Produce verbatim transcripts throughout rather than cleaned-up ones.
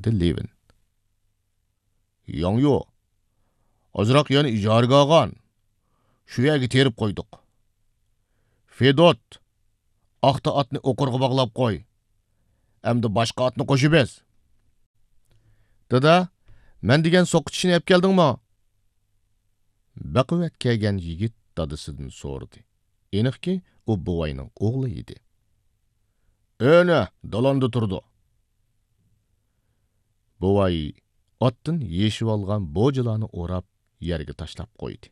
دەپتۇ لېۋىن. ياڭيۇ، ئازراق يەرنى ئىجارىگە ئالغان. شۇ يەرگە تېرىپ قويدۇق. فېدوت، ئاختا ئاتنى ئوقۇرغا باغلاپ قوي. ئەمدى باشقا ئاتنى قوشۇپ ئېز. دادا، مەن دېگەن سوقا چىشىنى ئەپ كەلدىڭمۇ؟ بەقۇۋۋەت كەلگەن يىگىت دادىسىدىن سورىدى. ئېنىقكى، ئۇ بوۋاينىڭ ئوغلى ئىدى. ئەنە، دالاندا تۇرىدۇ. بوۋاي ئاتتىن يېشىۋالغان بوجىلارنى ئوراپ، يەرگە تاشلاپ قويدى.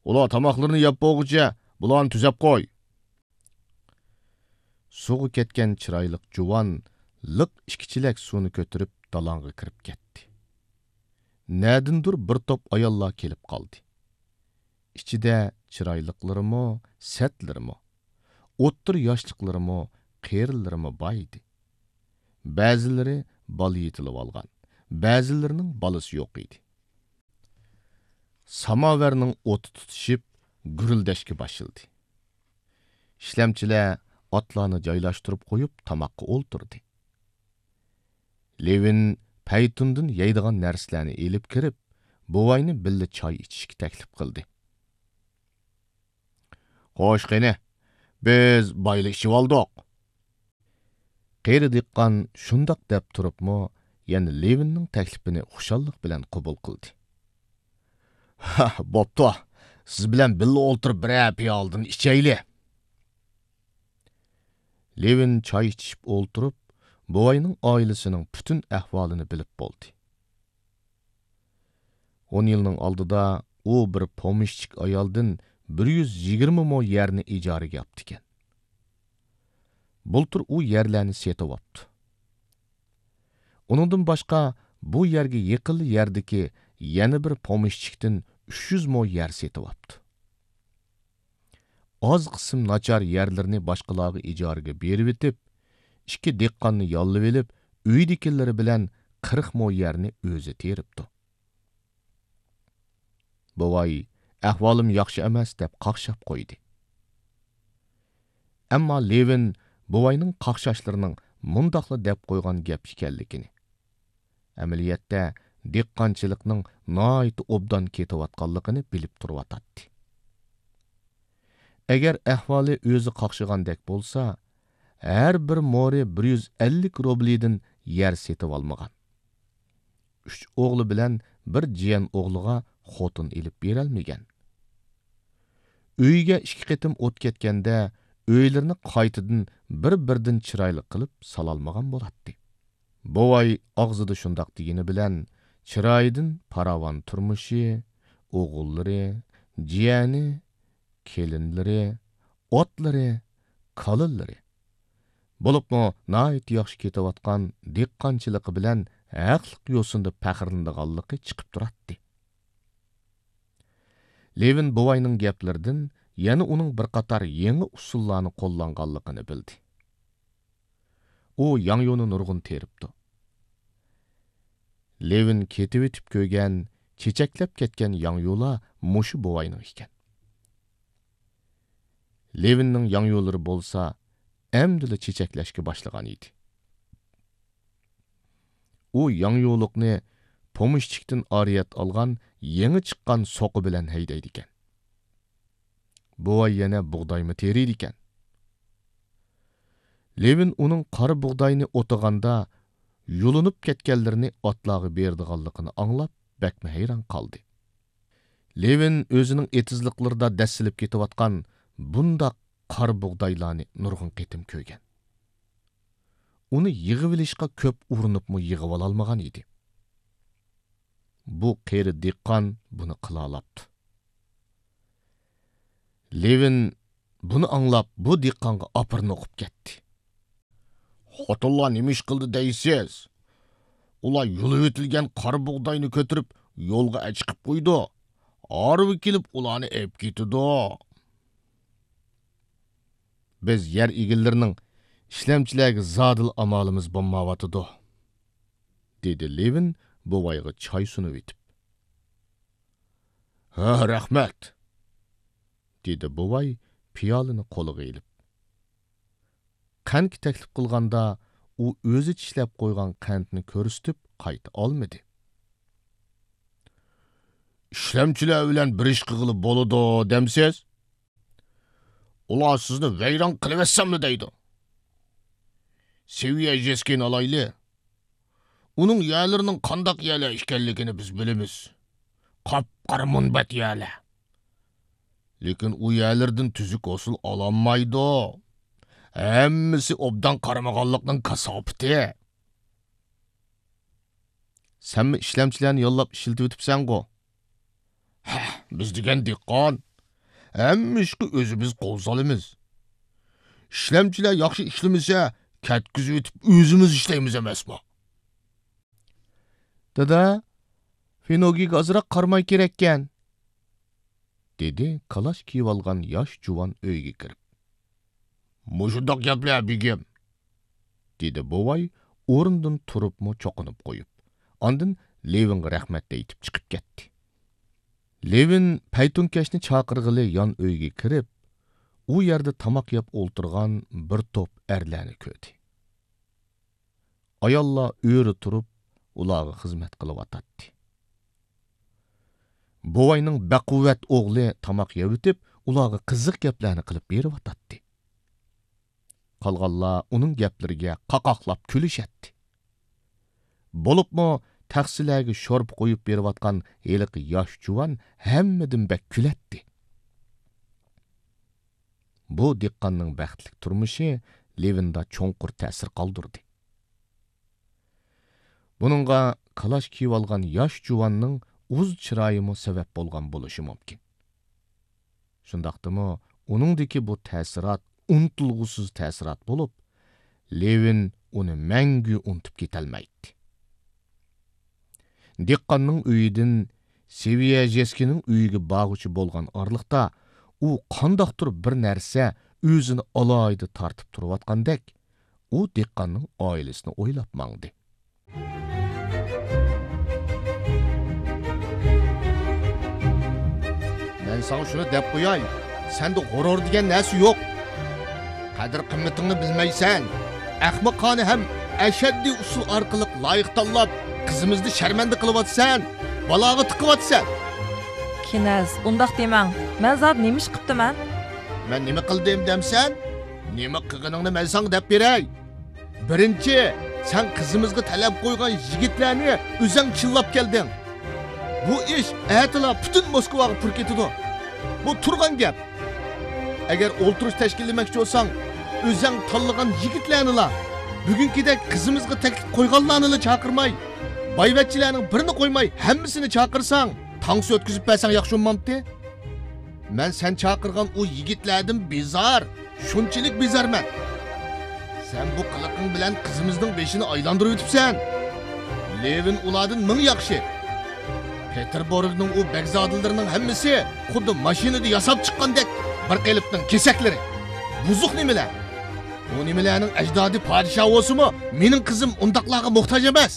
ئۇلار تاماقلىرىنى يەپ بولغۇچە، بۇلارنى تۈزەپ قوي. سۇغا كەتكەن چىرايلىق جۇۋان لىق ئىككى چېلەك سۇنى كۆتۈرۈپ، دالاڭغا كىرىپ كەتتى. نەدىندۇر بىر توپ ئاياللار كېلىپ قالدى. ئىچىدە چىرايلىقلىرىمۇ، سەتلىرىمۇ، ئوتتۇرا ياشلىقلىرىمۇ، قېرىلىرىمۇ بار ئىدى. بەزىلىرى بالا يېتىلىۋالغان، بەزىلىرىنىڭ بالىسى يوق ئىدى. ساماۋەرنىڭ ئوتى تۇتىشىپ، گۈرۈلدەشكە باشلىدى. ئىشلەمچىلەر ئاتلارنى جايلاشتۇرۇپ قويۇپ، تاماققا ئولتۇردى. لېۋىن پەيتۇندىن يەيدىغان نەرسىلەرنى ئېلىپ كىرىپ، بوۋاينى بىللە چاي ئىچىشكە تەكلىپ قىلدى. خوش، قېنى، بىز بايىلا ئىچىۋالدۇق. قېرى دېھقان شۇنداق دەپ تۇرۇپمۇ، يەنە لېۋىننىڭ تەكلىپىنى خۇشاللىق بىلەن قوبۇل قىلدى. ھە، بوپتۇ، سىز بىلەن بىللە ئولتۇرۇپ بىرەر پىيالىدىن ئىچەيلى. لېۋىن چاي ئىچىشىپ ئولتۇرۇپ، بوۋاينىڭ ئائىلىسىنىڭ پۈتۈن ئەھۋالىنى بىلىپ بولدى. ئون يىلنىڭ ئالدىدا ئۇ بىر پومېشچىك ئايالدىن بىر يۈز يىگىرمە مو يەرنى ئىجارىگە ئاپتىكەن. بۇلتۇر ئۇ يەرلەرنى سېتىۋاپتۇ. ئۇنىڭدىن باشقا، بۇ يەرگە يېقىنلا يەردىكى يەنە بىر پومېشچىكتىن ئۈچ يۈز مو يەر سېتىۋاپتۇ. ئاز قىسىم ناچار يەرلىرىنى باشقىلارغا ئىجارىگە بېرىۋېتىپ، ئىككى دېھقاننى ياللىۋېلىپ، ئۆيىدىكىلىرى بىلەن قىرىق مو يەرنى ئۆزى تېرىپتۇ. بوۋاي، «ئەھۋالىم ياخشى ئەمەس» دەپ قاقشاپ قويدى. ئەمما لېۋىن بوۋاينىڭ قاقشاشلىرىنىڭ مۇنداقلا دەپ قويغان گەپ ئىكەنلىكىنى، ئەمەلىيەتتە دېھقانچىلىقنىڭ ناھايىتى ئوبدان كېتىۋاتقانلىقىنى بىلىپ تۇرۇۋاتاتتى. ئەگەر ئەھۋالى ئۆزى قاقشىغاندەك بولسا، ھەر بىر مورى بىر يۈز ئەللىك روبلىدىن يەر سېتىۋالمىغان. ئۈچ ئوغلى بىلەن بىر جىيەن ئوغلىغا خوتۇن ئېلىپ بېرەلمىگەن. ئۆيىگە ئىككى قېتىم ئوت كەتكەندە، ئۆيلىرىنى قايتىدىن بىر-بىردىن چىرايلىق قىلىپ سالالمىغان بولاتتى. بوۋاي ئاغزىدا شۇنداق دېگىنى بىلەن، چىرايىدىن پاراۋان تۇرمۇشى، ئوغۇللىرى، جىيەنى، كېلىنلىرى، ئاتلىرى، كالىلىرى، بولۇپمۇ ناھايىتى ياخشى كېتىۋاتقان دېھقانچىلىقى بىلەن ھەقلىق يوسۇندا پەخىرلىنىدىغانلىقى چىقىپ تۇراتتى. لېۋىن بوۋاينىڭ گەپلىرىدىن يەنە ئۇنىڭ بىر قاتار يېڭى ئۇسۇللارنى قوللانغانلىقىنى بىلدى. ئۇ ياڭيۇنى نۇرغۇن تېرىپتۇ. لېۋىن كېتىۋېتىپ كۆرگەن، چېچەكلەپ كەتكەن ياڭيۇلار مۇشۇ بوۋاينىڭ ئىكەن. لېۋىننىڭ ياڭيۇلىرى بولسا ئەمدىلا چېچەكلەشكە باشلىغان ئىدى. ئۇ ياڭيۇلۇقنى پومېشچىكتىن ئارىيەت ئالغان يېڭى چىققان سوقا بىلەن ھەيدەيدىكەن. بوۋاي يەنە بۇغدايمۇ تېرىيدىكەن. لېۋىن ئۇنىڭ قارا بۇغداينى ئوتىغاندا يۇلۇنۇپ كەتكەنلىرىنى ئاتلارغا بېرىدىغانلىقىنى ئاڭلاپ، بەكمۇ ھەيران قالدى. لېۋىن ئۆزىنىڭ ئېتىزلىقلىرىدا دەسسىلىپ كېتىۋاتقان بۇنداق قارا بۇغدايلارنى نۇرغۇن قېتىم كۆرگەن. ئۇنى يىغىۋېلىشقا كۆپ ئۇرۇنۇپمۇ يىغىۋالالمىغان ئىدى. بۇ قېرى دېھقان بۇنى قىلالاپتۇ. لېۋىن بۇنى ئاڭلاپ، بۇ دېھقانغا ئاپىرىن ئوقۇپ كەتتى. «خوتۇنلار نېمە ئىش قىلدى دەيسىز؟ ئۇلار يۇلۇۋېتىلگەن قارا بۇغداينى كۆتۈرۈپ، يولغا ئەچىقىپ قويىدۇ. ھارۋا كېلىپ، ئۇلارنى ئېلىپ كېتىدۇ. بىز يەر ئىگىلىرىنىڭ ئىشلەمچىلەرگە زادىلا ئامالىمىز بولمايۋاتىدۇ»، دېدى لېۋىن بوۋايغا چاي سۇنۇۋېتىپ. «ھە، رەھمەت»، دېدى بوۋاي پىيالىنى قولىغا ئېلىپ. قەنتكە تەكلىپ قىلغاندا، ئۇ ئۆزى چىشلەپ قويغان قەنتنى كۆرسىتىپ قايتا ئالمىدى. ئىشلەمچىلەر بىلەن بىر ئىش قىلغىلى بولىدۇ دەمسىز؟ ئۇلار سىزنى ۋەيران قىلىۋەتسەملا دەيدۇ. سېۋىيە ژېسكىنى ئالايلى. ئۇنىڭ يەرلىرىنىڭ قانداق يەرلەر ئىكەنلىكىنى بىز بىلىمىز. قاپقارا مۇنبەت يەرلەر. لېكىن ئۇ يەرلىرىدىن تۈزۈك ھوسۇل ئالالمايدۇ. ھەممىسى ئوبدان قارىمىغانلىقنىڭ كاساپىتى. سەنمۇ ئىشلەمچىلەرنى ياللاپ ئىشلىتىۋېتىپسەنغۇ؟ ھە، بىز دېگەن دېھقان. ھەممە ئىشقا ئۆزىمىز قول سالىمىز. ئىشلەمچىلەر ياخشى ئىشلىمىسە، كەتكۈزۈۋېتىپ ئۆزىمىز ئىشلەيمىز ئەمەسمۇ؟ دادا، فىنوگىگە ئازراق قارىماي كېرەككەن، دېدى كالاش كىيىۋالغان ياش جۇۋان ئۆيگە كىرىپ. مۇشۇنداق گەپلەر، بېگىم، دېدى بوۋاي ئورنىدىن تۇرۇپمۇ چوقۇنۇپ قويۇپ، ئاندىن لېۋىنغا رەھمەت ئېيتىپ چىقىپ كەتتى. لېۋىن پەيتۇنكەشنى چاقىرغىلى يان ئۆيگە كىرىپ، ئۇ يەردە تاماق يەپ ئولتۇرغان بىر توپ ئەرلەرنى كۆردى. ئاياللار ئۆرە تۇرۇپ، ئۇلارغا خىزمەت قىلىۋاتاتتى. بوۋاينىڭ بەقۇۋۋەت ئوغلى تاماق يەۋېتىپ، ئۇلارغا قىزىق گەپلەرنى قىلىپ بېرىۋاتاتتى. قالغانلار ئۇنىڭ گەپلىرىگە قاقاقلاپ كۈلۈشەتتى. بولۇپمۇ تەخسىلەرگە شورپا قۇيۇپ بېرىۋاتقان ھېلىقى ياش جۇۋان ھەممىدىن بەك كۈلەتتى. بۇ دېھقاننىڭ بەختلىك تۇرمۇشى لېۋىندا چوڭقۇر تەسىر قالدۇردى. بۇنىڭغا كالاش كىيىۋالغان ياش جۇۋاننىڭ ئۇز چىرايىمۇ سەۋەب بولغان بولۇشى مۇمكىن. شۇنداقتىمۇ ئۇنىڭدىكى بۇ تەسىرات ئۇنتۇلغۇسىز تەسىرات بولۇپ، لېۋىن ئۇنى مەڭگۈ ئۇنتۇپ كېتەلمەيتتى. دېھقاننىڭ ئۆيىدىن سېۋىيەژېسكىنىڭ ئۆيىگە بارغۇچە بولغان ئارىلىقتا، ئۇ قانداقتۇر بىر نەرسە ئۆزىنى ئالاھىدە تارتىپ تۇرۇۋاتقاندەك، ئۇ دېھقاننىڭ ئائىلىسىنى ئويلاپ ماڭدى. مەن ساڭا شۇنى دەپ قوياي، سەندە غۇرۇر دېگەن نەرسە يوق. قەدىر-قىممىتىڭنى بىلمەيسەن. ئەخمىقانە ھەم ئەشەددىي ئۇسۇل ئارقىلىق لايىق تاللاپ، قىزىمىزنى شەرمەندە قىلىۋاتىسەن، بالاغا تىقىۋاتىسەن. كىنەز، ئۇنداق دېمەڭ. مەن زادى نېمە ئىش قىپتىمەن؟ مەن نېمە قىلدىم دەمسەن؟ نېمە قىلغىنىڭنى مەن ساڭا دەپ بېرەي. بىرىنچى، سەن قىزىمىزغا تەلەپ قويغان يىگىتلەرنى ئۆزەڭ چىللاپ كەلدىڭ. بۇ ئىش ئەتىلا پۈتۈن موسكۋاغا پۇر كېتىدۇ. بۇ تۇرغان گەپ. ئەگەر ئولتۇرۇش تەشكىللىمەكچى بولساڭ، ئۆزەڭ تاللىغان يىگىتلەرنىلا، بۈگۈنكىدەك قىزىمىزغا تەكلىپ قويغانلارنىلا چاقىرماي، بايۋەچچىلەرنىڭ بىرىنى قويماي ھەممىسىنى چاقىرساڭ، تانسا ئۆتكۈزۈپ بەرسەڭ ياخشى بولمامتى؟ مەن سەن چاقىرغان ئۇ يىگىتلەردىن بىزار، شۇنچىلىك بىزارمەن. سەن بۇ قىلىقىڭ بىلەن قىزىمىزنىڭ بېشىنى ئايلاندۇرۇۋېتىپسەن. لېۋىن ئۇلاردىن مىڭ ياخشى. پېتېربۇرگنىڭ ئۇ بەگزادىلىرىنىڭ ھەممىسى خۇددى ماشىنىدا ياساپ چىققاندەك بىر قېلىپنىڭ كېسەكلىرى. بۇزۇق نېمىلەر. ئۇ نېمىلەرنىڭ ئەجدادى پادىشاھ بولسىمۇ، مېنىڭ قىزىم ئۇنداقلارغا موھتاج ئەمەس.